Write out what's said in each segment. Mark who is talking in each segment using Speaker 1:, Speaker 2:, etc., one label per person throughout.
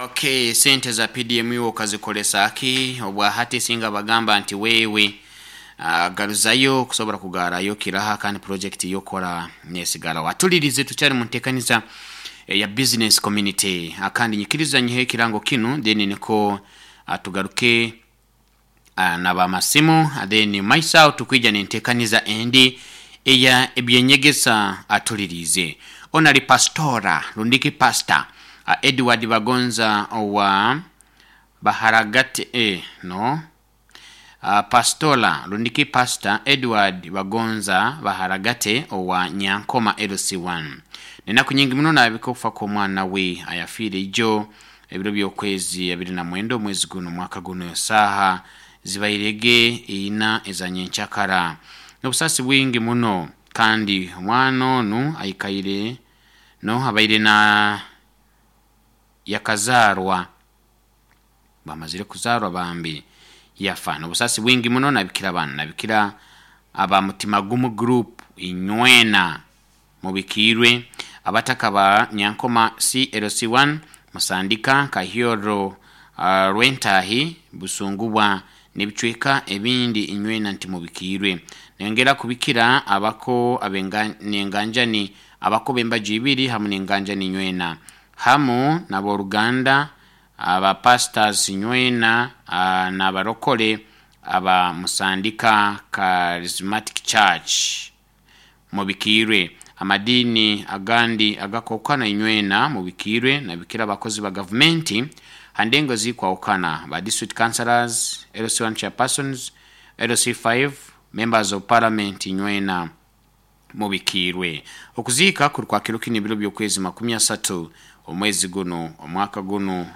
Speaker 1: Okay, sente za PDM iwe okazikolesa ki? Obwahati singa bagamba nti wewe garuzayo kusobora kugarayo kiraha kandi project yokora nesigara. Watulirize tukyari mu ntekaniza ya business community. Kandi nyikiriza nyihe ekirango kinu, then niko tugaruke nabamasimu, then maisao tukwija nentekaniza endi eya ebyenyegesa. Atulirize onali pastora rundiki pastor Edward Bagonza owa Baharagate, no, pastola rundiki pastor Edward Bagonza Baharagate owa Nyankoma LC1, nenaku nyingi muno nabika okufa kw'omwana we ayafiire ijo ebiro by'okwezi 29 omwezi guno omwaka guno, saaha zibairege 4 eza nyenkyakara, n'obusaasi bwingi muno. Kandi omwana onu aikaire no abaire na yakazaarwa, bamazire kuzaarwa bambi yafa. N'obusaasi bwingi muno nabikira banu, nabikira aba Mutima Gumu Group inywena mubikiirwe, abataka ba Nyankoma CLC1, Musandika, Kahyoro, Rwentahi, Busungubwa n'ebicweka ebindi inywena nti mubikiirwe. Nengera kubikira abako nenganjani, abako b'embaju ibiri hamu n'enganjani inywena, hamu n'aboruganda aba pastors inywena, n'abarokole aba Musandika Charismatic Church mubikiirwe, amadiini agandi agakwahukana inywena mubikiirwe. Nabikira abakozi ba gavumenti ha ndengo zikwahukana, ba district councillors, LC1 chairpersons, LC5, members of parliament inywena mubikiirwe. Okuziika kuri kwa kiro kinu ebiro by'okwezi 30 omwezi guno omwaka guno,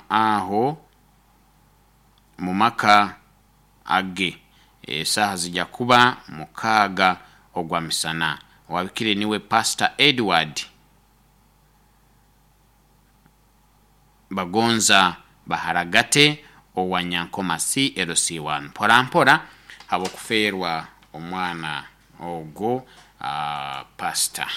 Speaker 1: aho mu maka age, esaaha zijja kuba 6 ogwa misana. Owabikire niwe Pastor Edward Bagonza Baharagate owa Nyankoma CLC1. Mpora mpora habw'okufeerwa omwana ogwo, pastor.